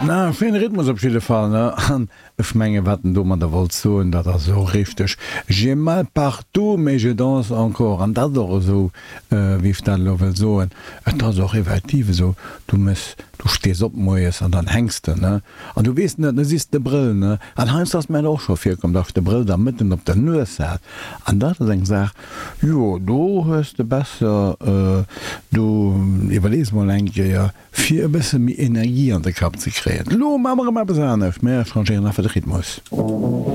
Na, schéine Rhythmus op jidde Fall, ne? An ech menge wat en domadder wollt soen, dat ass och richteg. J'ai mal partout, mais je danse encore. An dat ass och esou, wéi ech dat elo wëll soen, et ass och effektiv esou, du mëss, du stees op moies an dann hänks de, ne? An du weess net, ne, siss de Brëll, ne? An heiansdo ass mir dat och scho virkomm, datt ech de Brëll da mëtten op der Nues hat. An dat ass eng Saach, jo, do hues de besser, du iwwerlees mol eng Kéier, Fir e bësse méi Energie an de Kapp ze kréien. Lo maache mer erëm eppes anescht, mer changéieren einfach de Rhythmus.